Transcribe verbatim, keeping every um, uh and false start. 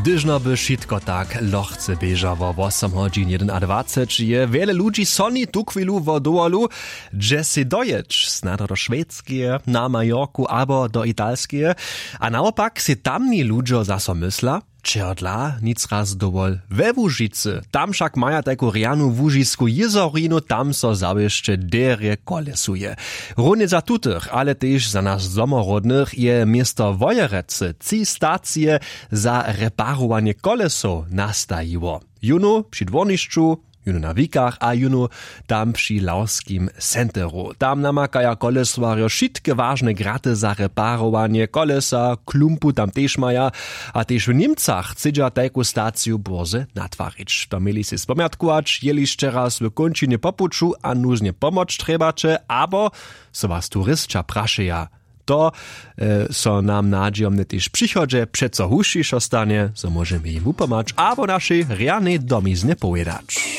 Hdyžno by wšitko tak lochce běžało, wosom hodźin jedynadwaceći je wjele ludźi soni tuchwilu wo dowolu, hdźe sej dojěć, snadno do šwedskeje, na majorku abo do italskeje. A nawopak sej tamni ludźo zaso mysla, čehodla nic raz dowol we łužicy. Tam wšak maja tajku rjanu łužisku jězorinu, tam so zawěsće derje kolesuje. Runje za tutych, ale tež za nas domorodnych je město wojerecy tři stacije za reparowanje kolesow nastajiło. Jónu při dwórnišću, jónu na wikach a jónu tam při lawskim centeru. Tam namakaja kolesowarjo wšitke wažne graty za reparowanje kolesa, klumpu tam tež maja. A tež w němcach chcedźa tajku staciju bórze natwarić, to měli sej spomjatkować jeli sće raz w kónčinje po puću a nuznje pomoc trjebaće abo so was turisća prašeja. To so nam nadźijomnje tež w přichodźe přeco husćišo stanje, zo móžemy jim wupomhać abo našej rjanej domiznje powědać.